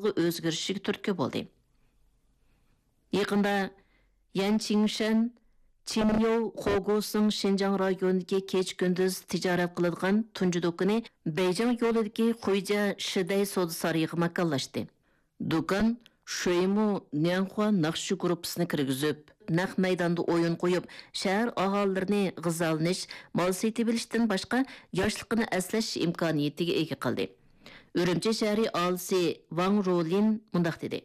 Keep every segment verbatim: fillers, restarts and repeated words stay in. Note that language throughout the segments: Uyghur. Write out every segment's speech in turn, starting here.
ئۆزگىرىشىگە تۈرتكە بولدى. يېقىندا يەن چىڭشەن، چىنيو، خوگۇسىڭ شىنجاڭ رايونىدىكى كېچە-كۈندۈز تىجارەت قىلىدىغان تۇنجى دۇكىنى بېيجىڭ يولىدىكى خۇيجيە شىدەي سودا سارىيىغا ماكانلاشتى. دۇكان شۇيمۇ نياڭخۇا ناخشا گۇرۇپپىسىنى كىرگۈزۈپ، نەق مەيداندا ئويۇن قويۇپ، شەھەر ئاھالىلىرىنى غىزالىنىش، مال سېتىۋېلىشتىن باشقا ياشلىقىنى ئەسلەش ئىمكانىيىتىگە ئىگە قىلدى. ئۈرۈمچى شەھىرى ئالىسى ۋاڭ رولىن مۇنداق دېدى: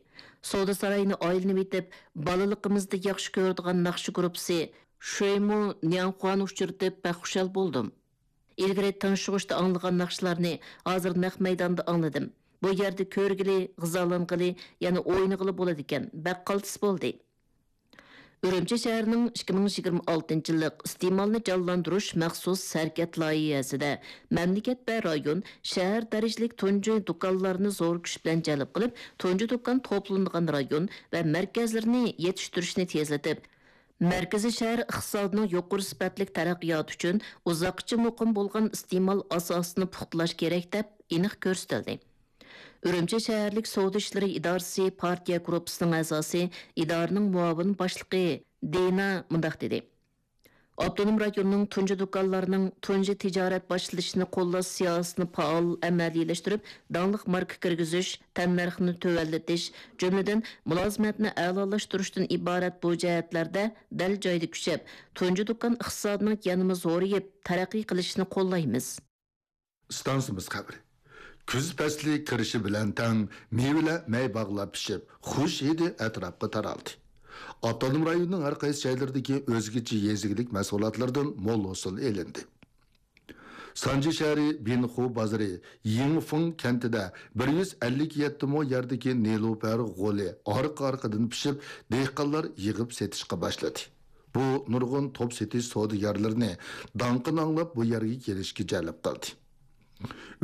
سودا سارايىنى ئايلىنىۋېتىپ، بالىلىقىمىزدا ياخشى كۆرىدىغان ناخشا گۇرۇپپىسى شۇيمۇ نياڭخۇانى ئۇچرىتىپ بەك خۇشال بولدۇم. ئىلگىرى تىڭشىغۇچتا ئاڭلىغان ناخشىلارنى ھازىر نەق مەيداندا ئاڭلىدىم. بۇ يەردە كۆرگىلى، غىزالانغىلى، يەنە ئوينىغىلى بولىدىكەن، بەك قالتىس بولدى. ئۈرۈمچى شەھىرىنىڭ ئىككى مىڭ يىگىرمە ئالتىنچى يىللىق ئىستېمالنى جانلاندۇرۇش مەخسۇس ھەرىكەت لايىھەسىدە مەملىكەت ۋە رايون، شەھەر دەرىجىلىك تۇنجى دۇكانلارنى زور كۈچ بىلەن جەلپ قىلىپ، تۇنجى دۇكان توپلىنىدىغان رايون ۋە مەركەزلىرىنى يېتىشتۈرۈشنى تېزلىتىپ، مەركىزىي شەھەر ئىقتىسادىنىڭ يۇقىرى سۈپەتلىك تەرەققىياتى ئۈچۈن ئۇزاققىچە مۇقىم بولغان ئىستېمال ئاساسىنى پۇختىلاش كېرەك، دەپ ئېنىق كۆرسىتىلدى. ئۈرۈمچى شەھەرلىك سودا ئىشلىرى ئىدارىسى پارتىيە گۇرۇپپىسىنىڭ ئەزاسى، ئىدارىنىڭ مۇئاۋىن باشلىقى دىنا مۇنداق دېدى: ئاپتونوم رايوننىڭ تۇنجى دۇكانلارنىڭ تۇنجى تىجارەت باشلىشىنى قوللاش سىياسىتىنى پائال ئەمەلىيلەشتۈرۈپ، داڭلىق ماركا كىرگۈزۈش، تەننەرخنى تۆۋەنلىتىش، جۈملىدىن مۇلازىمەتنى ئەلالاشتۇرۇشتىن ئىبارەت بۇ جەھەتلەردە دەل جايىدا كۈچەپ، تۇنجى دۇكان ئىقتىسادىنىڭ يەنىمۇ زورىيىپ، تەرەققىي قىلىشىنى قوللايمىز. ئىستانسىمىز خەۋىرى. كۈز پەسلى كىرىشى بىلەن تەڭ مېۋىلەر مەي باغلار پىشىپ، خۇش ھىدى ئەتراپقا تارالدى. ئاپتونوم رايوننىڭ ھەر قايسى جايلىرىدىكى ئۆزگىچە يېزا ئىگىلىك مەھسۇلاتلىرىدىن مول ھوسۇل ئېلىندى. سانجى شەھىرى بىنخۇ بازىرى يىڭفېڭ كەنتىدە بىر يۈز ئەللىك يەتتە مو يەردىكى نېلۇپەر غولى ئارقا-ئارقىدىن پىشىپ، دېھقانلار يىغىپ سېتىشقا باشلىدى. بۇ نۇرغۇن توپ سېتىش سودىگەرلىرىنى داڭقىنى ئاڭلاپ بۇ يەرگە كېلىشكە جەلپ قىلدى.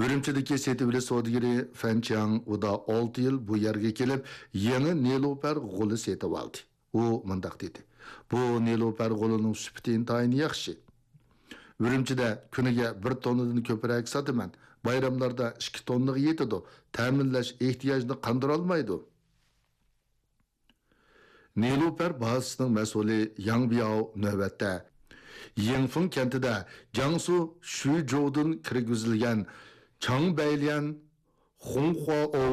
ئۈرۈمچىدىكى سېتىۋېلىش سودىگىرى فەن چياڭ ئۇدا ئالتە يىل بۇ يەرگە كېلىپ، يېڭى نېلۇپەر غولى سېتىۋالدى. ئۇ مۇنداق دېدى: بۇ نېلۇپەر غولىنىڭ سۈپىتى ئىنتايىن ياخشى. ئۈرۈمچىدە كۈنىگە بىر توننىدىن كۆپرەك ساتىمەن. بايراملاردا ئىككى توننىغا يېتىدۇ. تەمىنلەش ئېھتىياجنى قاندۇرالمايدۇ. نېلۇپەر بازىسىنىڭ مەسئۇلى ياڭ بياۋ نۆۋەتتە يىڭفېڭ كەنتىدە جياڭسۇ شۈجوۋدىن كىرگۈزۈلگەن چاڭ بەيليەن، خۇڭخۇاۋ،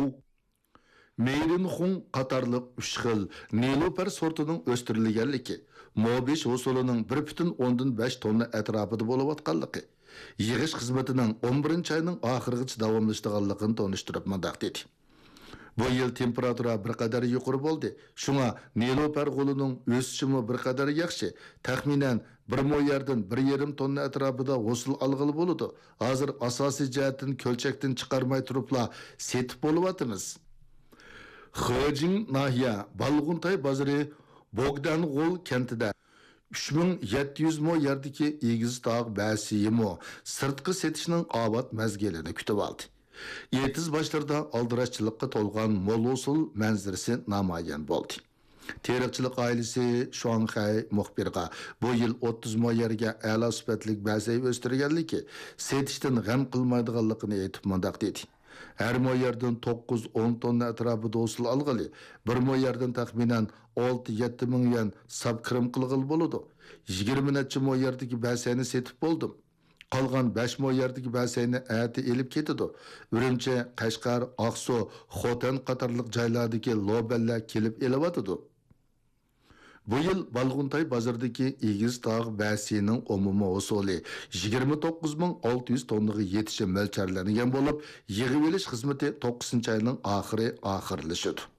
مېيرىنخۇڭ قاتارلىق ئۈچ خىل نېلۇپەر سورتىنىڭ ئۆستۈرۈلگەنلىكى، مو بېشى ھوسۇلىنىڭ بىر پۈتۈن ئوندىن بەش توننا ئەتراپىدا بولۇۋاتقانلىقى، يىغىش خىزمىتىنىڭ ئون بىرىنچى ئاينىڭ ئاخىرىغىچە داۋاملىشىدىغانلىقىنى تونۇشتۇرۇپ مۇنداق دېدى: بۇ يىل تېمپېراتۇرا بىر قەدەر يۇقىرى بولدى، شۇڭا نېلۇپەر غولىنىڭ ئۆسۈشىمۇ بىر قەدەر ياخشى، تەخمىنەن بىر مو يەردىن بىر يېرىم توننا ئەتراپىدا ھوسۇل ئالغىلى بولىدۇ. ھازىر ئاساسىي جەھەتتىن كۆلچەكتىن چىقارماي تۇرۇپلا سېتىپ بولۇۋاتىمىز. خېجىڭ ناھىيە بالغۇنتاي بازىرى بوگدانغول كەنتىدە ئۈچ مىڭ يەتتە يۈز مو يەردىكى ئېگىز تاغ بەسىيىمۇ سىرتقا سېتىشنىڭ ئاۋات مەزگىلىنى كۈتۈۋالدى. ئېتىز باشلىرىدا ئالدىراشچىلىققا تولغان مول ھوسۇل مەنزىرىسى نامايان بولدى. تېرىقچىلىق ئائىلىسى شۇاڭخەي مۇخبىرغا بۇ يىل ئوتتۇز مو يەرگە ئەلا سۈپەتلىك بەسەي ئۆستۈرگەنلىكى، سېتىشتىن غەم قىلمايدىغانلىقىنى ئېيتىپ مۇنداق دېدى: ھەر مو يەردىن توققۇز ئون توننا ئەتراپىدا ھوسۇل ئالغىلى، بىر مو يەردىن تەخمىنەن ئالتە يەتتە مىڭ يۈەن ساپ كىرىم قىلغىلى بولىدۇ. يىگىرمە نەچچە مو يەردىكى بەسەينى سېتىپ بولدۇم. قالغان بەش مو يەردىكى بەسەينى ئەتە ئېلىپ كېتىدۇ. ئۈرۈمچى، قەشقەر، ئاقسۇ، خوتەن قاتارلىق جايلاردىكى لوبەنلەر كېلىپ ئېلىۋاتىدۇ. بۇ يىل بالغۇنتاي بازىرىدىكى ئېگىز تاغ بەسىيىنىڭ ئومۇمىي ھوسۇلى يىگىرمە توققۇز مىڭ ئالتە يۈز توننىغا يېتىشى مۆلچەرلەنگەن بولۇپ، يىغىۋېلىش خىزمىتى توققۇزىنچى ئاينىڭ ئاخىرى ئاخىرلىشىدۇ.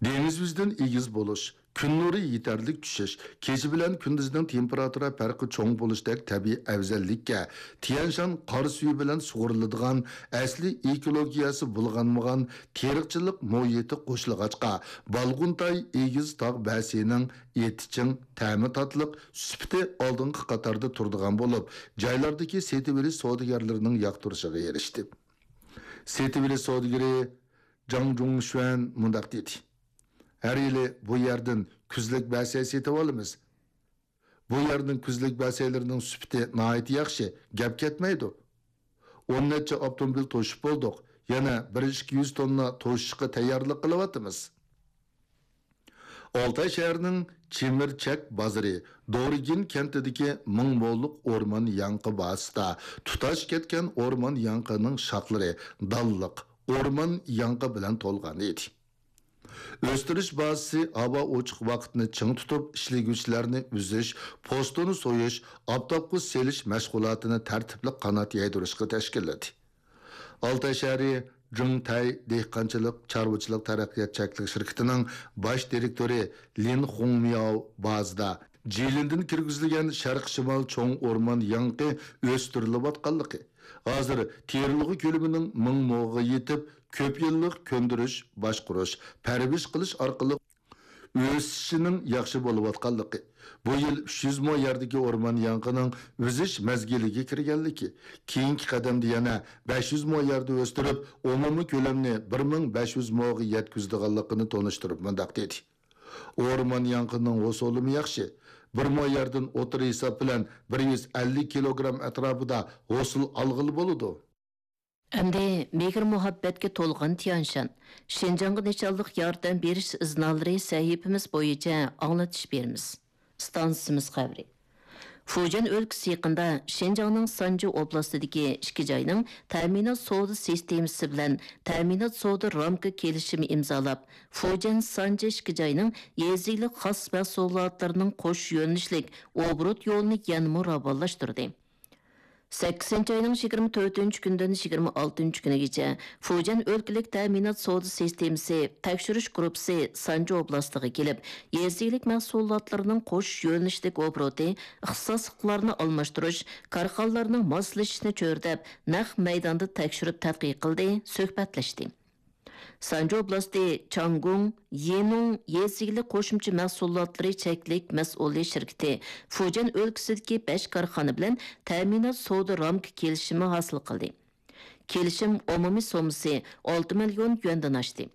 دېڭىز يۈزىدىن ئېگىز بولۇش، كۈن نۇرى يېتەرلىك چۈشۈش، كېچە بىلەن كۈندۈزنىڭ تېمپېراتۇرا پەرقى چوڭ بولۇشتەك تەبىئىي ئەۋزەللىككە، تيەنشان قار سۈيى بىلەن سۇغۇرۇلىدىغان ئەسلىي ئېكولوگىيەسى بۇلغانمىغان تېرىقچىلىق مۇھىتى قوشۇلغاچقا، بالغۇنتاي ئېگىز تاغ بەسىيىنىڭ ئېتى چىڭ، تەمى تاتلىق، سۈپىتى ئالدىنقى قاتاردا تۇرىدىغان بولۇپ، جايلاردىكى سېتىۋېلىش سودىگەرلىرىنىڭ ياقتۇرۇشىغا ئېرىشتى. سېتىۋېلىش سودىگىرى جاڭ جۇڭشۈەن مۇنداق دېدى: ھەر يىلى بۇ يەردىن كۈزلۈك بەسەي سېتىۋالىمىز. بۇ يەرنىڭ كۈزلۈك بەسەيلىرىنىڭ سۈپىتى ناھايىتى ياخشى، گەپ كەتمەيدۇ. ئون نەچچە ئاپتوموبىل توشۇپ بولدۇق. يەنە بىر ئىككى يۈز توننا توشۇشقا تەييارلىق قىلىۋاتىمىز. ئالتاي شەھىرىنىڭ چېمىرچەك بازىرى دورىگىن كەنتىدىكى مىڭ موللۇق ئورمان ياڭىقى بازىسىدا تۇتاش كەتكەن ئورمان ياڭىقىنىڭ شاخلىرى دانلىق ئورمان ياڭىقى بىلەن تولغان ئىدى. ئۆستۈرۈش بازىسى ھاۋا ئوچۇق ۋاقىتنى چىڭ تۇتۇپ، ئىشلىگۈچىلەرنى ئۈزۈش، پوستىنى سويۇش، ئاپتاپقا سېلىش مەشغۇلاتىنى تەرتىپلىك قانات يايدۇرۇشقا تەشكىللىدى. ئالتاي شەھىرى جىڭتەي دېھقانچىلىق چارۋىچىلىق تەرەققىيات چەكلىك شىركىتىنىڭ باش دىرېكتورى لىن خۇڭمياۋ بازىدا جىلىندىن كىرگۈزۈلگەن شەرقىي شىمال چوڭ ئورمان ياڭىقى ئۆستۈرۈلۈۋاتقانلىقى، ھازىر تېرىلغۇ كۆلىمىنىڭ مىڭ موغا يېتىپ، كۆپ يىللىق كۆندۈرۈش، باشقۇرۇش، پەرۋىش قىلىش ئارقىلىق ئۆسۈشىنىڭ ياخشى بولۇۋاتقانلىقى، بۇ يىل ئۈچ يۈز مو يەردىكى ئورمان ياڭىقىنىڭ ئۈزۈش مەزگىلىگە كىرگەنلىكى، كېيىنكى قەدەمدە يەنە بەش يۈز مو يەردە ئۆستۈرۈپ، ئومۇمىي كۆلەمنى بىر مىڭ بەش يۈز موغا يەتكۈزىدىغانلىقىنى تونۇشتۇرۇپ مۇنداق دېدى: ئورمان ياڭىقىنىڭ ھوسۇلىمۇ ياخشى. بىر مو يەردىن ئوتتۇرا ھېساب بىلەن بىر يۈز ئەللىك كىلوگرام ئەتراپىدا ھوسۇل ئالغىلى بولىدۇ. ئەمدى مېھىر-مۇھەببەتكە تولغان تيەنشان، شىنجاڭغا نىشانلىق ياردەم بېرىش ئىزنالىرى سەھىپىمىز بويىچە ئاڭلىتىش بېرىمىز. ئىستانسىمىز خەۋىرى. فۇجيەن ئۆلكىسى يېقىندا شىنجاڭنىڭ سانجى ئوبلاستىدىكى ئىككى جاينىڭ تەمىنات سودا سىستېمىسى بىلەن تەمىنات سودا رامكا كېلىشىمى ئىمزالاپ، فۇجيەن سانجى ئىككى جاينىڭ يېزا ئىگىلىك خاس مەھسۇلاتلىرىنىڭ قوش يۆنىلىشلىك ئوبوروت يولىنى يەنىمۇ راۋانلاشتۇردى. سەككىزىنچى ئاينىڭ يىگىرمە تۆتىنچى كۈنىدىن يىگىرمە ئالتىنچى كۈنىگىچە فۇجيەن ئۆلكىلىك تەمىنات سودا سىستېمىسى تەكشۈرۈش گۇرۇپپىسى سانجى ئوبلاستىغا كېلىپ، يېزا ئىگىلىك مەھسۇلاتلىرىنىڭ قوش يۆنىلىشلىك ئوبوروتى، ئىختىساسلىقلارنى ئالماشتۇرۇش، كارخانىلارنىڭ ماسلىشىشىنى چۆرىدەپ، نەق مەيداندا تەكشۈرۈپ تەتقىق قىلدى، سۆھبەتلەشتى. سانجى ئوبلاستى چاڭگۇڭ يېنۇڭ يېزا ئىگىلىك قوشۇمچە مەھسۇلاتلىرى چەكلىك مەسئۇلىيەت شىركىتى فۇجيەن ئۆلكىسىدىكى بەش كارخانا بىلەن تەمىنات سودا رامكا كېلىشىمى ھاسىل قىلدى. كېلىشىم ئومۇمىي سوممىسى ئالتە مىليون يۈەندىن ئاشتى.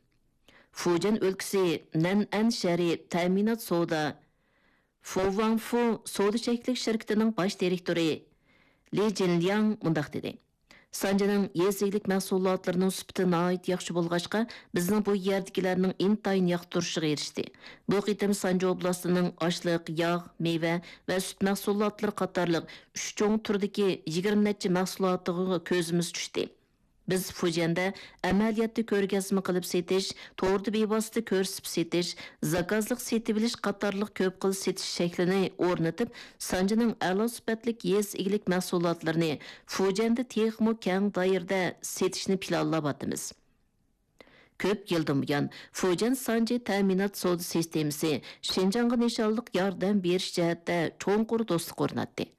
فۇجيەن ئۆلكىسى نەنئەن شەھىرى تەمىنات سودا فۇۋاڭفۇ سودا چەكلىك شىركىتىنىڭ باش دىرېكتورى لى جىنلياڭ مۇنداق دېدى: سانجىنىڭ يېزا ئىگىلىك مەھسۇلاتلىرىنىڭ سۈپىتى ناھايىتى ياخشى بولغاچقا، بىزنىڭ بۇ يەردىكىلەرنىڭ ئىنتايىن ياقتۇرۇشىغا ئېرىشتى. بۇ قېتىم سانجى ئوبلاستىنىڭ ئاشلىق، ياغ، مېۋە ۋە سۈت مەھسۇلاتلىرى قاتارلىق ئۈچ چوڭ تۈردىكى يىگىرمە نەچچە مەھسۇلاتىغا كۆزىمىز چۈشتى. بىز فۇجيەندە ئەمەلىيەتتە كۆرگەزمە قىلىپ سېتىش، توردا بىۋاسىتە كۆرسىتىپ سېتىش، زاكازلىق سېتىۋېلىش قاتارلىق كۆپ خىل سېتىش شەكلىنى ئورنىتىپ، سانجىنىڭ ئەلا سۈپەتلىك يېزا ئىگىلىك مەھسۇلاتلىرىنى فۇجيەندە تېخىمۇ كەڭ دائىرىدە سېتىشنى پىلانلاۋاتىمىز. كۆپ يىلدىن بۇيان، فۇجيەن سانجى تەمىنات سودا سىستېمىسى شىنجاڭغا نىشانلىق ياردەم بېرىش جەھەتتە چوڭقۇر دوستلۇق ئورناتتى.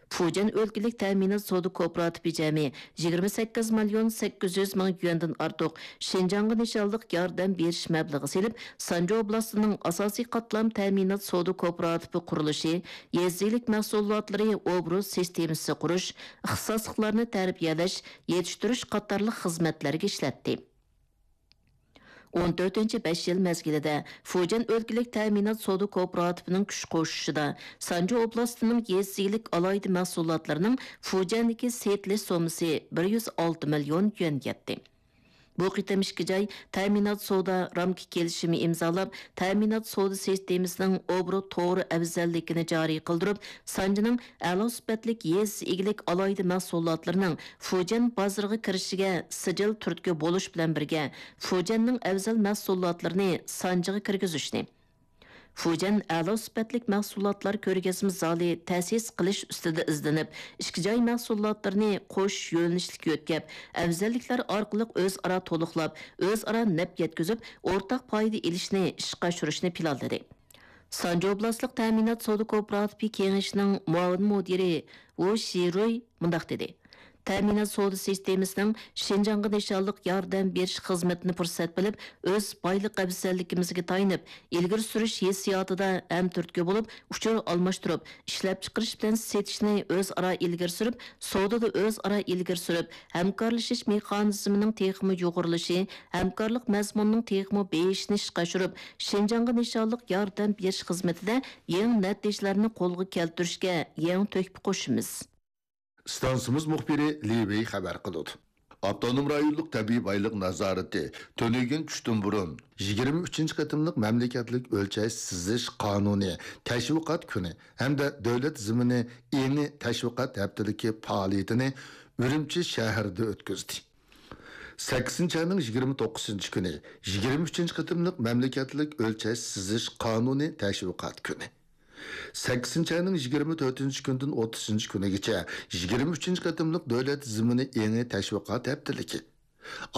فۇجيەن ئۆلكىلىك تەمىنات سودا كوپىراتىپى جەمئىي يىگىرمە سەككىز مىليون سەككىز يۈز مىڭ يۈەندىن ئارتۇق شىنجاڭغا نىشانلىق ياردەم بېرىش مەبلىغى سېلىپ، سانجى ئوبلاستىنىڭ ئاساسىي قاتلام تەمىنات سودا كوپىراتىپى قۇرۇلۇشى، يېزا ئىگىلىك مەھسۇلاتلىرى ئوبوروت سىستېمىسى قۇرۇش، ئىختىساسلىقلارنى تەربىيەلەش، يېتىشتۈرۈش قاتارلىق خىزمەتلەرگە ئىشلەتتى. ئون تۆتىنچى بەش يىل مەزگىلىدە فۇجيەن ئۆلكىلىك تەمىنات سودا كوپىراتىپىنىڭ كۈچ قوشۇشىدا سانجى ئوبلاستىنىڭ يېزا ئىگىلىك ئالاھىدە مەھسۇلاتلىرىنىڭ فۇجيەندىكى سېتىلىش سوممىسى بىر يۈز ئالتە مىليون يۈەنگە يەتتى. بۇ قېتىم ئىككى جاي تەمىنات سودا رامكا كېلىشىمى ئىمزالاپ، تەمىنات سودا سىستېمىسىنىڭ ئوبوروت توغرا ئەۋزەللىكىنى جارى قىلدۇرۇپ، سانجىنىڭ ئەلا سۈپەتلىك يېزا ئىگىلىك ئالاھىدە مەھسۇلاتلىرىنىڭ فۇجيەن بازىرىغا كىرىشىگە سىجىل تۈرتكە بولۇش بىلەن بىرگە، فۇجيەننىڭ ئەۋزەل مەھسۇلاتلىرىنى سانجىغا كىرگۈزۈشنى، فۇجيەن ئەلا سۈپەتلىك مەھسۇلاتلار كۆرگەزمە زالى تەسىس قىلىش ئۈستىدە ئىزدىنىپ، ئىككى جاي مەھسۇلاتلىرىنى قوش يۆنىلىشلىك يۆتكەپ، ئەۋزەللىكلەر ئارقىلىق ئۆزئارا تولۇقلاپ، ئۆزئارا نەپ يەتكۈزۈپ، ئورتاق پايدا ئېلىشنى ئىشقا ئاشۇرۇشنى پىلانلىدى. سانجى ئوبلاستلىق تەمىنات سودا كوپىراتىپى كېڭىشىنىڭ مۇئاۋىن مۇدىرى ۋۇ شىرۇي مۇنداق دېدى: تەمىنات سودا سىستېمىسىنىڭ شىنجاڭغا نىشانلىق ياردەم بېرىش خىزمىتىنى پۇرسەت بىلىپ، ئۆز بايلىق ئەۋزەللىكىمىزگە تايىنىپ، ئىلگىرى سۈرۈش ھېسسىياتىدا ھەمتۈرتكە بولۇپ، ئۇچۇر ئالماشتۇرۇپ، ئىشلەپچىقىرىش بىلەن سېتىشنى ئۆزئارا ئىلگىرى سۈرۈپ، سودىدا ئۆزئارا ئىلگىرى سۈرۈپ، ھەمكارلىشىش مېخانىزمىنىڭ تېخىمۇ يۇغۇرۇلۇشى، ھەمكارلىق مەزمۇنىنىڭ تېخىمۇ بېيىشىشىنى ئىشقا ئاشۇرۇپ، شىنجاڭغا نىشانلىق ياردەم بېرىش خىزمىتىدە يېڭى نەتىجىلەرنى قولغا كەلتۈرۈشكە يېڭى تۆھپە قوشىمىز. ئىستانسىمىز مۇخبىرى لى ۋېي خەۋەر قىلىدۇ. ئاپتونوم رايونلۇق تەبىئىي بايلىق نازارىتى تۈنۈگۈن چۈشتىن بۇرۇن يىگىرمە ئۈچىنچى قېتىملىق مەملىكەتلىك ئۆلچەش سىزىش قانۇنى تەشۋىقات كۈنى ھەمدە دۆلەت زېمىنى ئېڭى تەشۋىقات ھەپتىلىكى پائالىيىتىنى ئۈرۈمچى شەھىرىدە ئۆتكۈزدى. سەككىزىنچى ئاينىڭ يىگىرمە توققۇزىنچى كۈنى يىگىرمە ئۈچىنچى قېتىملىق مەملىكەتلىك ئۆلچەش سىزىش قانۇنى تەشۋىقات كۈنى. سەككىزىنچى ئاينىڭ يىگىرمە تۆتىنچى كۈنىدىن ئوتتۇزىنچى كۈنىگىچە يىگىرمە ئۈچىنچى قېتىملىق دۆلەت زېمىنى ئېڭى تەشۋىقات ھەپتىلىكى.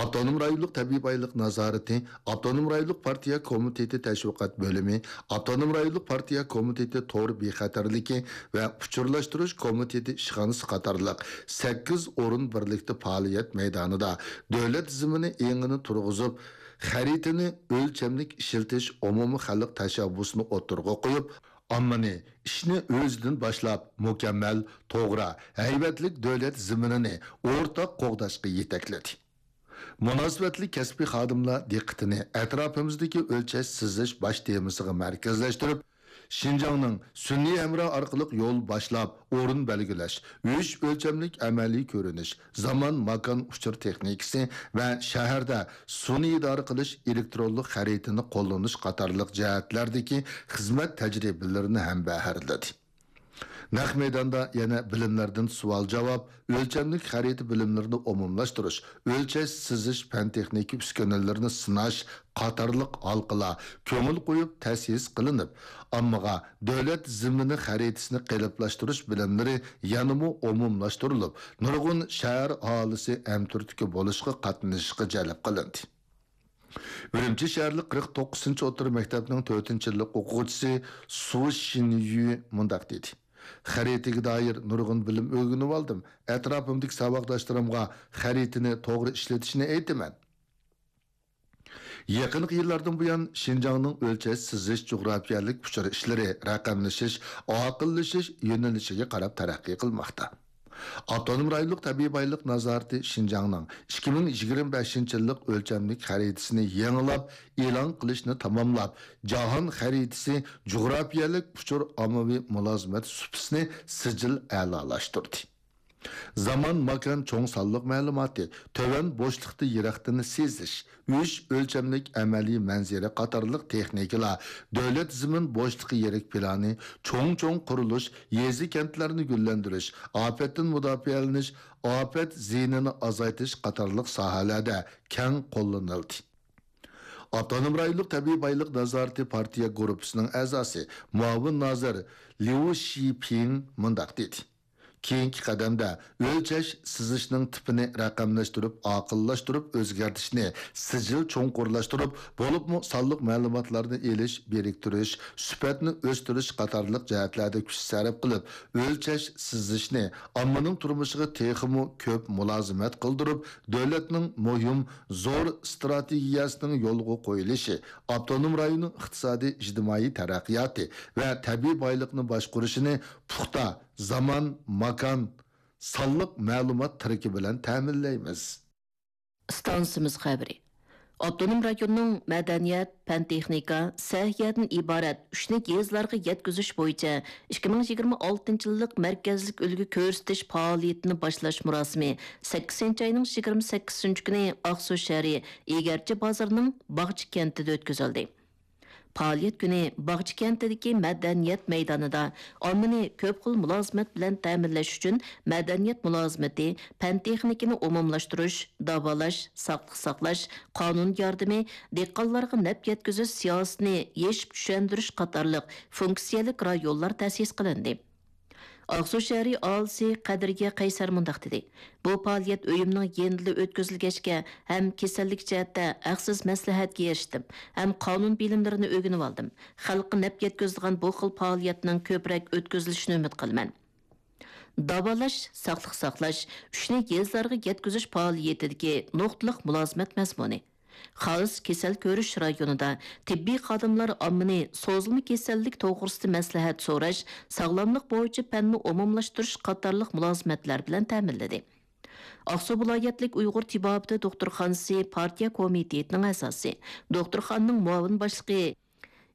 ئاپتونوم رايونلۇق تەبىئىي بايلىق نازارىتى، ئاپتونوم رايونلۇق پارتىيە كومىتېتى تەشۋىقات بۆلۈمى، ئاپتونوم رايونلۇق پارتىيە كومىتېتى تور بىخەتەرلىكى ۋە ئۇچۇرلاشتۇرۇش كومىتېتى ئىشخانىسى قاتارلىق سەككىز ئورۇن بىرلىكتە پائالىيەت مەيدانىدا دۆلەت زېمىنى ئېڭىنى تۇرغۇزۇپ، خەرىتىنى ئۆلچەملىك ئىشلىتىش ئومۇمىي خەلق تەشەببۇسىنى ئوتتۇرىغا قويۇپ، ئاممىنى ئىشنى ئۆزىدىن باشلاپ، مۇكەممەل، توغرا، ھەيۋەتلىك دۆلەت زېمىنىنى ئورتاق قوغداشقا يېتەكلىدى. مۇناسىۋەتلىك كەسپىي خادىملار دىققىتىنى ئەتراپىمىزدىكى ئۆلچەش سىزىش باش تېمىسىغا مەركەزلەشتۈرۈپ، شىنجاڭنىڭ سۈنئىي ھەمراھ ئارقىلىق يول باشلاپ، ئورۇن بەلگىلەش، ئۈچ ئۆلچەملىك ئەمەلىي كۆرۈنۈش، زامان، ماكان، ئۇچۇر تېخنىكىسى ۋە شەھەردە سۇنى ئىدارە قىلىش ئېلېكترونلۇق خەرىتىنى قوللىنىش قاتارلىق جەھەتلەردىكى خىزمەت تەجرىبىلىرىنى ھەمبەھىرلىدى. نەق مەيداندا يەنە بىلىملەردىن سوئال-جاۋاب، ئۆلچەملىك خەرىتە بىلىملىرىنى ئومۇملاشتۇرۇش، ئۆلچەش، سىزىش، پەن-تېخنىكا ئۈسكۈنىلىرىنى سىناش قاتارلىق ھالقىلار كۆڭۈل قويۇپ تەسىس قىلىنىپ، ئاممىغا دۆلەت زېمىنى خەرىتىسىنى قېلىپلاشتۇرۇش بىلىملىرى يەنىمۇ ئومۇملاشتۇرۇلۇپ، نۇرغۇن شەھەر ئاھالىسى ھەمتۈرتكە بولۇشقا، قاتنىشىشقا جەلپ قىلىندى. ئۈرۈمچى شەھەرلىك قىرىق توققۇزىنچى ئوتتۇرا مەكتەپنىڭ تۆتىنچى يىللىق ئوقۇغۇچىسى سۇ شىنيۈ مۇنداق دېدى: «خەرىتىگە دائىر نۇرغۇن بىلىم ئۆگىنىۋالدىم. ئەتراپىمدىكى ساۋاقداشلىرىمغا خەرىتىنى توغرا ئىشلىتىشنى ئېيتىمەن.» يېقىنقى يىللاردىن بۇيان، شىنجاڭنىڭ ئۆلچەش سىزىش جۇغراپىيەلىك ئۇچۇر ئىشلىرى، رەقەملىشىش، ئاقىللىشىش يۆنىلىشىگە قاراپ تەرەققىي قىلماقتا. ئاپتونوم رايونلۇق تەبىئىي بايلىق نازارىتى شىنجاڭنىڭ ئىككى مىڭ يىگىرمە بەشىنچى يىللىق ئۆلچەملىك خەرىتىسىنى يېڭىلاپ ئېلان قىلىشنى تاماملاپ، جاھان خەرىتىسى جۇغراپىيەلىك ئۇچۇر ئاممىۋى مۇلازىمەت سۇپىسىنى سىجىل ئەلالاشتۇردى. زامان، ماكان، چوڭ سانلىق مەلۇماتى، تۆۋەن بوشلۇقتا يىراقتىن سېزىش، ئۈچ ئۆلچەملىك ئەمەلىي مەنزىرە قاتارلىق تېخنىكىلار، دۆلەت زېمىن بوشلۇقى يىرىك پىلانى، چوڭ-چوڭ قۇرۇلۇش، يېزا-كەنتلەرنى گۈللەندۈرۈش، ئاپەتتىن مۇداپىئەلىنىش، ئاپەت زىيىنىنى ئازايتىش قاتارلىق ساھەلەردە كەڭ قوللىنىلدى. ئاپتونوم رايونلۇق تەبىئىي بايلىق نازارىتى پارتىيە گۇرۇپپىسىنىڭ ئەزاسى، مۇئاۋىن نازىر ليۇ شىپىڭ مۇنداق دېدى: «كېيىنكى قەدەمدە ئۆلچەش سىزىشنىڭ تىپىنى رەقەملەشتۈرۈپ، ئاقىللاشتۇرۇپ ئۆزگەرتىشنى سىجىل چوڭقۇرلاشتۇرۇپ، بولۇپمۇ سانلىق مەلۇماتلارنى ئېلىش، بىرىكتۈرۈش، سۈپەتنى ئۆستۈرۈش قاتارلىق جەھەتلەردە كۈچ سەرپ قىلىپ، ئۆلچەش سىزىشنى ئاممىنىڭ تۇرمۇشىغا تېخىمۇ كۆپ مۇلازىمەت قىلدۇرۇپ، دۆلەتنىڭ مۇھىم زور ئىستراتېگىيەسىنىڭ يولغا قويۇلۇشى، ئاپتونوم رايوننىڭ ئىقتىسادىي، ئىجتىمائىي تەرەققىياتى ۋە تەبىئىي بايلىقنى باشقۇرۇشىنى پۇختا زامان، ماكان، سانلىق مەلۇمات تىرىكى بىلەن تەمىنلەيمىز.» ئىستانسىمىز خەۋىرى. ئاپتونوم رايوننىڭ مەدەنىيەت، پەن-تېخنىكا، سەھىيەدىن ئىبارەت ئۈچنى يېزىلارغا يەتكۈزۈش بويىچە ئىككى مىڭ يىگىرمە ئالتىنچى يىللىق مەركەزلىك ئۈلگە كۆرسىتىش پائالىيىتىنى باشلاش مۇراسىمى سەككىزىنچى ئاينىڭ يىگىرمە سەككىزىنچى كۈنى ئاقسۇ شەھىرى ئىگەرچى بازىرىنىڭ باغچە كەنتىدە ئۆتكۈزۈلدى. پائالىيەت كۈنى باغچە كەنتىدىكى مەدەنىيەت مەيدانىدا ئاممىنى كۆپ خىل مۇلازىمەت بىلەن تەمىنلەش ئۈچۈن مەدەنىيەت مۇلازىمىتى، پەن-تېخنىكىنى ئومۇملاشتۇرۇش، داۋالاش، ساقلىق ساقلاش، قانۇن ياردىمى، دېھقانلارغا نەپ يەتكۈزۈش سىياسىتىنى يېشىپ چۈشەندۈرۈش قاتارلىق فۇنكسىيەلىك رايونلار تەسىس قىلىندى. ئاقسۇ شەھىرى ئاھالىسى قەدرىيە قەيسەر مۇنداق دېدى: «بۇ پائالىيەت ئۆيۈمنىڭ يېنىدا ئۆتكۈزۈلگەچكە، ھەم كېسەللىك جەھەتتە ھەقسىز مەسلىھەتكە ئېرىشتىم، ھەم قانۇن بىلىملىرىنى ئۆگىنىۋالدىم. خەلققە نەپ يەتكۈزىدىغان بۇ خىل پائالىيەتنىڭ كۆپرەك ئۆتكۈزۈلۈشىنى ئۈمىد قىلىمەن.» داۋالاش، ساقلىق ساقلاش، ئۈچنى يېزىلارغا يەتكۈزۈش پائالىيىتىدىكى نۇقتىلىق مۇلازىمەت مەزمۇنى. خاس كېسەل كۆرۈش رايونىدا تېببىي خادىملار ئاممىنى سوزۇلما كېسەللىك توغرىسىدا مەسلىھەت سوراش، ساغلاملىق بويىچە پەننى ئومۇملاشتۇرۇش قاتارلىق مۇلازىمەتلەر بىلەن تەمىنلىدى. ئاقسۇ ۋىلايەتلىك ئۇيغۇر تېبابىتى دوختۇرخانىسى پارتىيە كومىتېتىنىڭ ئەزاسى، دوختۇرخانىنىڭ مۇئاۋىن باشلىقى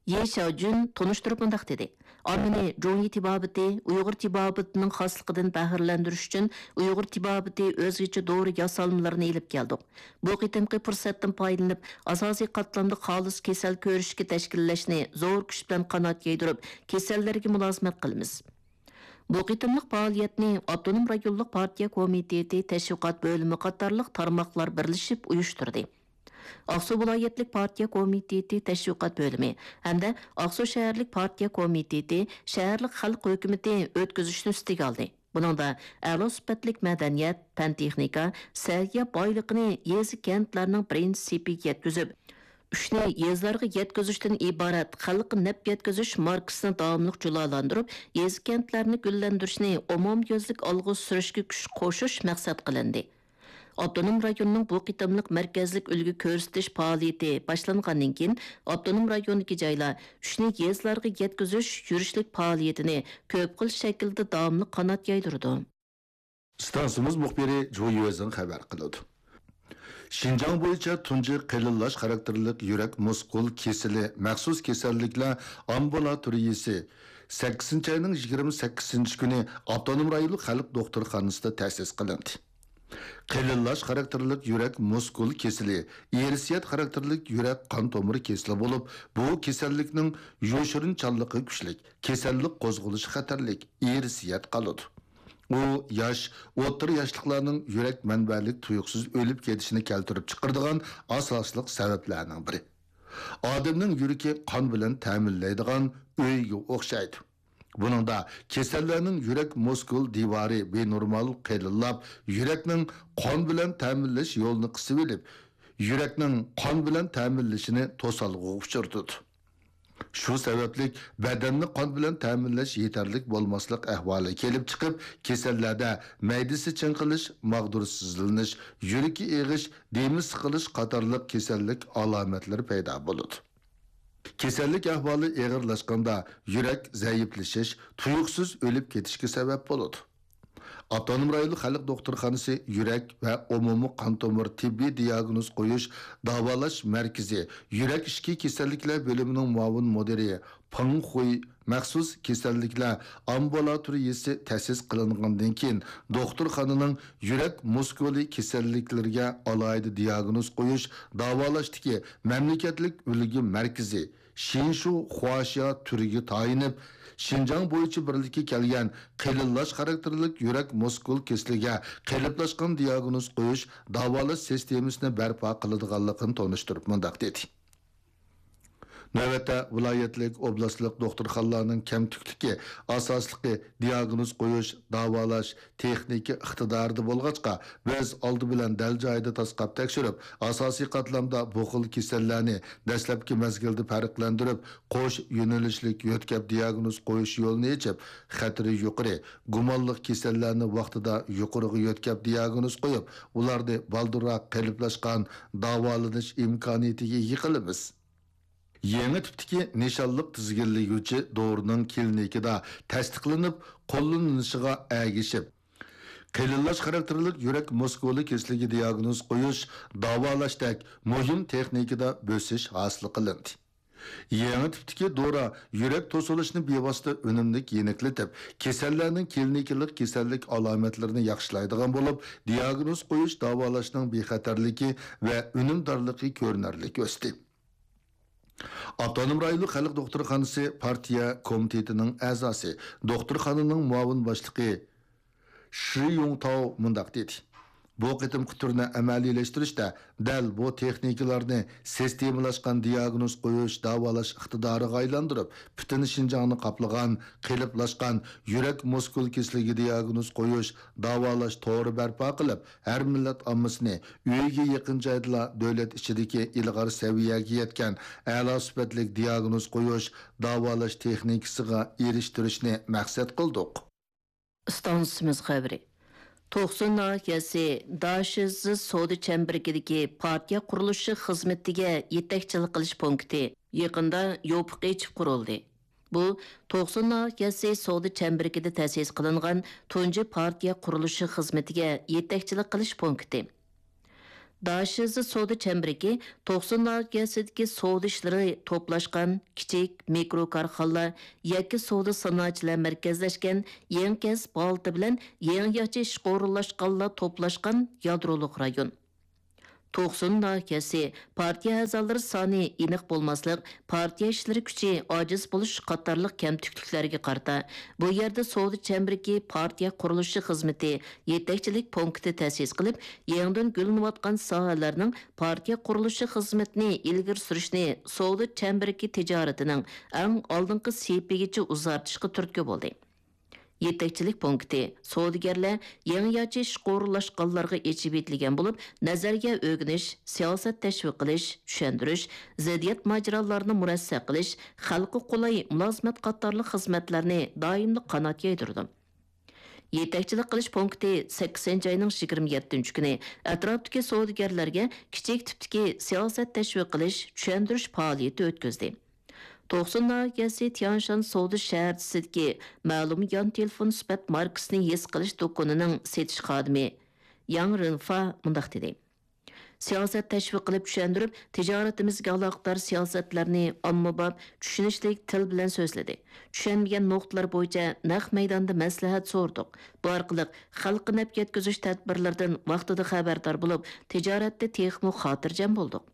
يې شياۋجۈن تونۇشتۇرۇپ مۇنداق دېدى: ئاممىنى جۇڭيى تېبابىتى، ئۇيغۇر تېبابىتىنىڭ خاسلىقىدىن بەھرىلەندۈرۈش ئۈچۈن ئۇيغۇر تېبابىتى ئۆزگىچە دورا ياسالمىلىرىنى ئېلىپ كەلدۇق. بۇ قېتىمقى پۇرسەتتىن پايدىلىنىپ، ئاساسىي قاتلامدا خالىس كېسەل كۆرۈشكە تەشكىللەشنى زور كۈچ بىلەن قانات يايدۇرۇپ، كېسەللەرگە مۇلازىمەت قىلىمىز. بۇ قېتىملىق پائالىيەتنى ئاپتونوم رايونلۇق پارتىيە كومىتېتى تەشۋىقات بۆلۈمى قاتارلىق تارماقلار بىرلىشىپ ئۇيۇشتۇردى. ئاقسۇ ۋىلايەتلىك پارتىيە كومىتېتى تەشۋىقات بۆلۈمى ھەمدە ئاقسۇ شەھەرلىك پارتىيە كومىتېتى شەھەرلىك خەلق ھۆكۈمىتى ئۆتكۈزۈشنى ئۈستىگە ئالدى. بۇنىڭدا ئەلا سۈپەتلىك مەدەنىيەت، پەن-تېخنىكا، سەھىيە بايلىقىنى يېزا-كەنتلەرنىڭ بىرىنچى سېپىگە يەتكۈزۈپ، ئۈچنى يېزىلارغا يەتكۈزۈشتىن ئىبارەت خەلققە نەپ يەتكۈزۈش ماركىسىنى داۋاملىق جۇلالاندۇرۇپ، يېزا-كەنتلەرنى گۈللەندۈرۈشنى ئومۇميۈزلۈك ئالغا سۈرۈشكە كۈچ قوشۇش مەقسەت قىلىندى. ئاپتونوم رايوننىڭ بۇ قېتىملىق مەركەزلىك ئۈلگە كۆرسىتىش پائالىيىتى باشلانغاندىن كېيىن، ئاپتونوم رايوندىكى جايلار ئۈچنى يېزىلارغا يەتكۈزۈش يۈرۈشلۈك پائالىيىتىنى كۆپ خىل شەكىلدە داۋاملىق قانات يايدۇرىدۇ. ئىستانسىمىز مۇخبىرى جۇ يۈەزىڭ خەۋەر قىلىدۇ. شىنجاڭ بويىچە تۇنجى قېلىنلاش خاراكتېرلىك يۈرەك مۇسكۇل كېسىلى مەخسۇس كېسەللىكلەر ئامبۇلاتورىيىسى سەككىزىنچى ئاينىڭ يىگىرمە سەككىزىنچى كۈنى ئاپتونوم رايونلۇق خەلق دوختۇرخانىسىدا تەسىس قىلىندى. قېلىنلاش خاراكتېرلىك يۈرەك مۇسكۇل كېسىلى ئىرسىيەت خاراكتېرلىك يۈرەك قان تومۇر كېسىلى بولۇپ، بۇ كېسەللىكنىڭ يوشۇرۇنچانلىقى كۈچلۈك، كېسەللىك قوزغىلىشى خەتەرلىك، ئىرسىيەت قالىدۇ. ئۇ ياش، ئوتتۇرا ياشلىقلارنىڭ يۈرەك مەنبەلىك تۇيۇقسىز ئۆلۈپ كېتىشىنى كەلتۈرۈپ چىقىرىدىغان ئاساسلىق سەۋەبلەرنىڭ بىرى. ئادەمنىڭ يۈرىكى قان بىلەن تەمىنلەيدىغان ئۆيگە ئوخشايدۇ. بۇنىڭدا كېسەللەرنىڭ يۈرەك مۇسكۇل دىۋارى بىنورمال قېلىنلاپ، يۈرەكنىڭ قان بىلەن تەمىنلەش يولىنى قىسىۋېلىپ، يۈرەكنىڭ قان بىلەن تەمىنلىشىنى توسالغۇغا ئۇچرىتىدۇ. شۇ سەۋەبلىك بەدەننى قان بىلەن تەمىنلەش يېتەرلىك بولماسلىق ئەھۋالى كېلىپ چىقىپ، كېسەللەردە مەيدىسى چىڭقىلىش، ماغدۇرسىزلىنىش، يۈرىكى ئېغىش، دېمى سىقىلىش قاتارلىق كېسەللىك ئالامەتلىرى پەيدا بولىدۇ. كېسەللىك ئەھۋالى ئېغىرلاشقاندا يۈرەك زەئىپلىشىش، تۇيۇقسىز ئۆلۈپ كېتىشكە سەۋەب بولىدۇ. ئاپتونوم رايونلۇق خەلق دوختۇرخانىسى يۈرەك ۋە ئومۇمىي قان تومۇر تېببىي دىياگنوز قويۇش داۋالاش مەركىزى يۈرەك ئىچكى كېسەللىكلەر بۆلۈمىنىڭ مۇئاۋىن مۇدىرى پېڭ خۇي مەخسۇس كېسەللىكلەر ئامبۇلاتورىيىسى تەسىس قىلىنغاندىن كېيىن، دوختۇرخانىنىڭ يۈرەك مۇسكۇلى كېسەللىكلىرىگە ئالاھىدە دىياگنوز قويۇش داۋالاشتىكى مەملىكەتلىك ئۈلگە مەركىزى شىنشۇ خۇاشيا تۈرىگە تايىنىپ، شىنجاڭ بويىچە بىرلىككە كەلگەن قېلىنلاش خاراكتېرلىك يۈرەك مۇسكۇل كېسىلىگە قېلىپلاشقان دىياگنوز قويۇش، داۋالاش سىستېمىسىنى بەرپا قىلىدىغانلىقىنى تونۇشتۇرۇپ مۇنداق دېدى. نۆۋەتتە ۋىلايەتلىك، ئوبلاستلىق دوختۇرخانىلارنىڭ كەمتۈكلۈكى ئاساسلىقى دىياگنوز قويۇش، داۋالاش، تېخنىكا ئىقتىدارىدا بولغاچقا، بىز ئالدى بىلەن دەل جايىدا تاسقاپ تەكشۈرۈپ، ئاساسىي قاتلامدا بۇ خىل كېسەللەرنى دەسلەپكى مەزگىلدە پەرقلەندۈرۈپ، قوش يۆنىلىشلىك يۆتكەپ دىياگنوز قويۇش يولىنى ئېچىپ، خەتىرى يۇقىرى، گۇمانلىق كېسەللەرنى ۋاقتىدا يۇقىرىغا يۆتكەپ دىياگنوز قويۇپ، ئۇلارنى بالدۇرراق قېلىپلاشقان داۋالىنىش ئىمكانىيىتىگە ئىگە قىلىمىز. يېڭى تىپتىكى نىشانلىق تىزگىنلىگۈچى دورىنىڭ كلىنىكىدا تەستىقلىنىپ قوللىنىلىشىغا ئەگىشىپ، قېلىنلاش خاراكتېرلىك يۈرەك مۇسكۇلى كېسىلىگە دىياگنوز قويۇش، داۋالاشتەك مۇھىم تېخنىكىدا بۆسۈش ھاسىل قىلىندى. يېڭى تىپتىكى دورا يۈرەك توسۇلۇشىنى بىۋاسىتە ئۈنۈملۈك يېنىكلىتىپ، كېسەللەرنىڭ كلىنىكىلىق كېسەللىك ئالامەتلىرىنى ياخشىلايدىغان بولۇپ، دىياگنوز قويۇش، داۋالاشنىڭ بىخەتەرلىكى ۋە ئۈنۈمدارلىقى كۆرۈنەرلىك ئۆستى. ئاپتونوم رايونلۇق خەلق دوختۇرخانىسى پارتىيە كومىتېتىنىڭ ئەزاسى، دوختۇرخانىنىڭ مۇئاۋىن باشلىقى شى يۇڭتاۋ مۇنداق دېدى: بۇ قېتىمقى تۈرنى ئەمەلىيلەشتۈرۈشتە دەل بۇ تېخنىكىلارنى سىستېمىلاشقان دىياگنوز قويۇش، داۋالاش ئىقتىدارىغا ئايلاندۇرۇپ، پۈتۈن شىنجاڭنى قاپلىغان قېلىپلاشقان يۈرەك مۇسكۇل كېسىلىگە دىياگنوز قويۇش، داۋالاش تورى بەرپا قىلىپ، ھەر مىللەت ئاممىسىنى ئۆيىگە يېقىن جايدىلا دۆلەت ئىچىدىكى ئىلغار سەۋىيەگە يەتكەن ئەلا سۈپەتلىك دىياگنوز قويۇش، داۋالاش تېخنىكىسىغا ئېرىشتۈرۈشنى مەقسەت قىلدۇق. ئىستانسىمىز خەۋىرى. توقسۇن ناھىيەسى داشىزى سودا چەمبىرىكىدىكى پارتىيە قۇرۇلۇشى خىزمىتىگە يېتەكچىلىك قىلىش پونكىتى يېقىندا يوپۇق ئېچىپ قۇرۇلدى. بۇ توقسۇن ناھىيەسى سودا چەمبىرىكىدە تەسىس قىلىنغان تۇنجى پارتىيە قۇرۇلۇشى خىزمىتىگە يېتەكچىلىك قىلىش پونكىتى. داشىزى سودا چەمبىرىكى توقسۇن ناھىيەسىدىكى سودا ئىشلىرى توپلاشقان كىچىك، مىكرو كارخانىلار، يەككە سودا سانائەتچىلەر مەركەزلەشكەن يېڭى كەسىپ ھالىتى بىلەن يېڭىچە ئىشقا ئورۇنلاشقانلار توپلاشقان يادرولۇق رايون. توقسۇن ناھىيەسى پارتىيە ئەزالىرى سانى ئېنىق بولماسلىق، پارتىيە ئىشلىرى كۈچى ئاجىز بولۇش قاتارلىق كەمتۈكلۈكلەرگە قارىتا، بۇ يەردە سودا چەمبىرىكى پارتىيە قۇرۇلۇشى خىزمىتى يېتەكچىلىك پونكىتى تەسىس قىلىپ، يېڭىدىن گۈللىنىۋاتقان ساھەلەرنىڭ پارتىيە قۇرۇلۇشى خىزمىتىنى ئىلگىرى سۈرۈشنى سودا چەمبىرىكى تىجارىتىنىڭ ئەڭ ئالدىنقى سېپىگىچە ئۇزارتىشقا تۈرتكە بولدى. يېتەكچىلىك پونكىتى سودىگەرلەر يېڭىچە ئىشقا ئورۇنلاشقانلارغا ئېچىۋېتىلگەن بولۇپ، نەزەرىيە ئۆگىنىش، سىياسەت تەشۋىق قىلىش، چۈشەندۈرۈش، زىددىيەت ماجىرالارنى مۇرەسسە قىلىش، خەلققە قولاي مۇلازىمەت قاتارلىق خىزمەتلەرنى دائىملىق قانات يايدۇرىدۇ. يېتەكچىلىك قىلىش پونكىتى سەككىزىنچى ئاينىڭ يىگىرمە يەتتىنچى كۈنى ئەتراپتىكى سودىگەرلەرگە كىچىك تىپتىكى سىياسەت تەشۋىق قىلىش، چۈشەندۈرۈش پائالىيىتى ئۆتكۈزدى. توقسۇن ناھىيەسى تيانشان سودا شەھەرچىسىدىكى مەلۇم يان تېلېفون سۈپەت ماركىسىنى ھېس قىلىش دۇكىنىنىڭ سېتىش خادىمى ياڭ رىنفا مۇنداق دېدى: سىياسەت تەشۋىق قىلىپ چۈشەندۈرۈپ، تىجارىتىمىزگە ئالاقىدار سىياسەتلەرنى ئاممىباب، چۈشىنىشلىك تىل بىلەن سۆزلىدى. چۈشەنمىگەن نۇقتىلار بويىچە نەق مەيداندا مەسلىھەت سورىدۇق. بۇ ئارقىلىق خەلققە نەپ يەتكۈزۈش تەدبىرلىرىدىن ۋاقتىدا خەۋەردار بولۇپ، تىجارەتتە تېخىمۇ خاتىرجەم بولدۇق.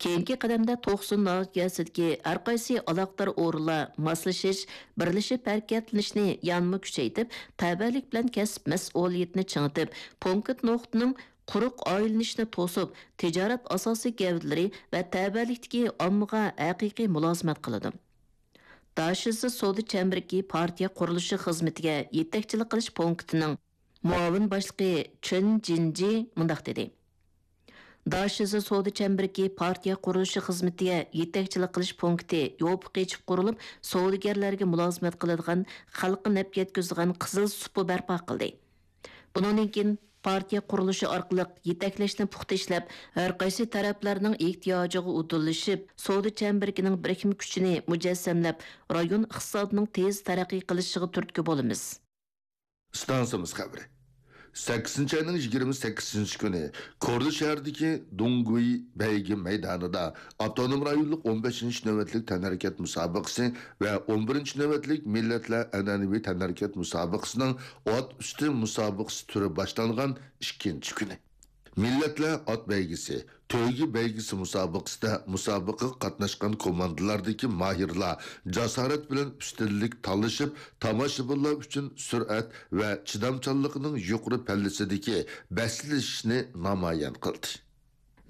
كېيىنكى قەدەمدە توقسۇن ناھىيەسىدىكى ھەرقايسى ئالاقىدار ئورۇنلار ماسلىشىش، بىرلىشىپ ھەرىكەتلىنىشنى يەنىمۇ كۈچەيتىپ، تەۋەلىك بىلەن كەسىپ مەسئۇلىيىتىنى چىڭىتىپ، پونكىت نۇقتىنىڭ قۇرۇق ئايلىنىشنى توسۇپ، تىجارەت ئاساسىي گەۋدىلىرى ۋە تەۋەلىكتىكى ئاممىغا ھەقىقىي مۇلازىمەت قىلىدۇ. داشىزى سودا چەمبىرىكى پارتىيە قۇرۇلۇشى خىزمىتىگە يېتەكچىلىك قىلىش پونكىتىنىڭ مۇئاۋىن باشلىقى چېن جىنجى مۇنداق دېدى: داشىزى سودا چەمبىرىكى پارتىيە قۇرۇلۇشى خىزمىتىگە يېتەكچىلىك قىلىش پونكىتى يوپۇق ئېچىپ قۇرۇلۇپ، سودىگەرلەرگە مۇلازىمەت قىلىدىغان، خەلققە نەپ يەتكۈزىدىغان قىزىل سۇپا بەرپا قىلدى. بۇنىڭدىن كېيىن پارتىيە قۇرۇلۇشى ئارقىلىق يېتەكلەشنى پۇختا ئىشلەپ، ھەرقايسى تەرەپلەرنىڭ ئېھتىياجىغا ئۇدۇللىشىپ، سودا چەمبىرىكىنىڭ بىرىكمە كۈچىنى مۇجەسسەملەپ، رايون ئىقتىسادىنىڭ تېز تەرەققىي قىلىشىغا تۈرتكە بولىمىز. ئىستانسىمىز خەۋىرى. سەككىزىنچى ئاينىڭ يىگىرمە سەككىزىنچى كۈنى كورلا شەھىرىدىكى دۇڭگۇي بەيگە مەيدانىدا ئاپتونوم رايونلۇق ئون بەشىنچى نۆۋەتلىك تەنھەرىكەت مۇسابىقىسى ۋە ئون بىرىنچى نۆۋەتلىك مىللەتلەر ئەنئەنىۋى تەنھەرىكەت مۇسابىقىسىنىڭ ئات ئۈستى مۇسابىقىسى تۈرى باشلانغان ئىككىنچى كۈنى. مىللەتلەر ئات بەيگىسى، تۆگە بەيگىسى مۇسابىقىسىدە مۇسابىقىگە قاتناشقان كوماندىلاردىكى ماھىرلار جاسارەت بىلەن ئۈستۈنلۈك تالىشىپ، تاماشىبىنلار ئۈچۈن سۈرئەت ۋە چىدامچانلىقىنىڭ يۇقىرى پەللىسىدىكى بەسلىشىشنى نامايان قىلدى.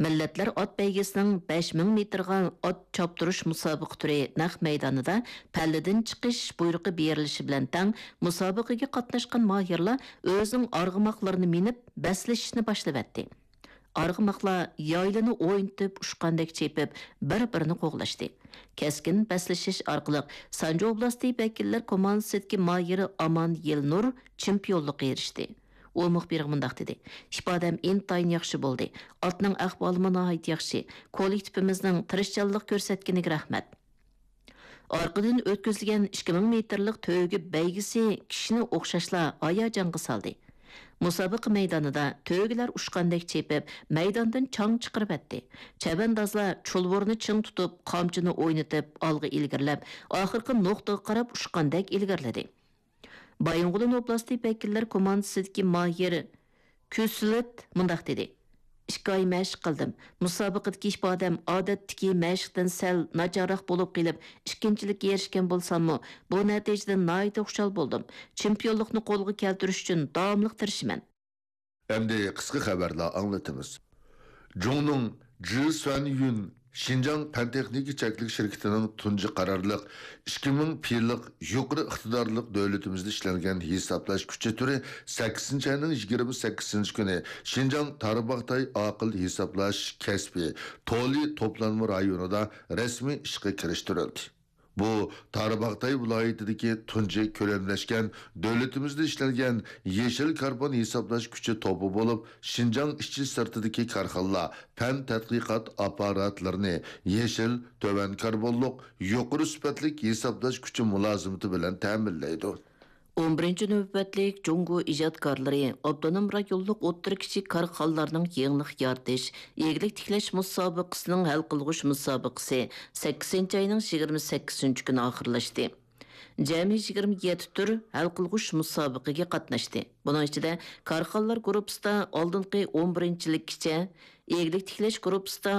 مىللەتلەر ئات بەيگىسىنىڭ بەش مىڭ مېتىرغا ئات چاپتۇرۇش مۇسابىقە تۈرى نەق مەيدانىدا پەللىدىن چىقىش بۇيرۇقى بېرىلىشى بىلەن تەڭ، مۇسابىقىگە قاتناشقان ماھىرلار ئۆزىنىڭ ئارغىماقلىرىنى مىنىپ، بەسلىشىشنى باشلىۋەتتى. ئارغىماقلار يايلىنى ئوينىتىپ، ئۇچقاندەك چېپىپ، بىر-بىرىنى قوغلاشتى. كەسكىن بەسلىشىش ئارقىلىق سانجى ئوبلاستى ۋەكىللەر كوماندىسىدىكى ماھىرى ئامان يىلنۇر چېمپىيونلۇققا ئېرىشتى. ئۇ مۇخبىرغا مۇنداق دېدى: ئىپادەم ئىنتايىن ياخشى بولدى. ئاتنىڭ ئەھۋالىمۇ ناھايىتى ياخشى. كوللېكتىپىمىزنىڭ تىرىشچانلىق كۆرسەتكىنىگە رەھمەت. ئارقىدىن ئۆتكۈزۈلگەن ئىككى مىڭ مېتىرلىق تۆگە بەيگىسى كىشىنى ئوخشاشلا ھاياجانغا سالدى. مۇسابىقە مەيدانىدا تۆگىلەر ئۇچقاندەك چېپىپ، مەيداندىن چاڭ چىقىرىۋەتتى. چەۋەندازلار چۇلۋۇرنى چىڭ تۇتۇپ، قامچىنى ئوينىتىپ، ئالغا ئىلگىرىلەپ، ئاخىرقى نۇقتىغا قاراپ ئۇچقاندەك ئىلگىرىلىدى. بايىنغولىن ئوبلاستى ۋەكىللەر كوماندىسىدىكى ماھىر كۈسلىت مۇنداق دېدى: ئىككى ئاي مەشىق قىلدىم. مۇسابىقىدىكى ئىپادەم ئادەتتىكى مەشىقتىن سەل ناچارراق بولۇپ قېلىپ، ئىككىنچىلىككە ئېرىشكەن بولساممۇ، بۇ نەتىجىدىن ناھايىتى خۇشال بولدۇم. چېمپىيونلۇقنى قولغا كەلتۈرۈش ئۈچۈن داۋاملىق تىرىشىمەن. ئەمدى قىسقا خەۋەرلەر ئاڭلىتىمىز. جۇڭنىڭ جى سۈەنيۈن شىنجاڭ پەن تېخنىكا چەكلىك شىركىتىنىڭ تۇنجى قارارلىق ئىككى مىڭ پىلىق يۇقىرى ئىقتىدارلىق دۆلىتىمىزدە ئىشلەنگەن ھېسابلاش كۈچى تۈرى سەككىزىنچى ئاينىڭ يىگىرمە سەككىزىنچى كۈنى شىنجاڭ تارباغاتاي ئاقىل ھېسابلاش كەسپى تولى توپلانما رايونىدا رەسمىي ئىشقا كىرىشتۈرۈلدى. بۇ تارباغاتاي ۋىلايىتىدىكى تۇنجى كۆلەملەشكەن دۆلىتىمىزدە ئىشلەنگەن يېشىل كاربون ھېسابلاش كۈچى توپى بولۇپ، شىنجاڭ ئىچى سىرتىدىكى كارخانىلار پەن تەتقىقات ئاپپاراتلىرىنى يېشىل، تۆۋەن كاربونلۇق، يۇقىرى سۈپەتلىك ھېسابلاش كۈچى مۇلازىمىتى بىلەن تەمىنلەيدۇ. ئون بىرىنچى نۆۋەتلىك جۇڭگو ئىجادكارلىرى ئاپتونوم رايونلۇق ئوتتۇرا، كىچىك كارخانىلارنىڭ يېڭىلىق يارىتىش، ئىگىلىك تىكلەش مۇسابىقىسىنىڭ ھەل قىلغۇچ مۇسابىقىسى سەككىزىنچى ئاينىڭ يىگىرمە سەككىزىنچى كۈنى ئاخىرلاشتى. جەمئىي يىگىرمە يەتتە تۈر ھەل قىلغۇچ مۇسابىقىگە قاتناشتى. بۇنىڭ ئىچىدە كارخانىلار گۇرۇپپىسىدا ئالدىنقى ئون بىرىنچىلىككىچە، ئىگىلىك تىكلەش گۇرۇپپىسىدا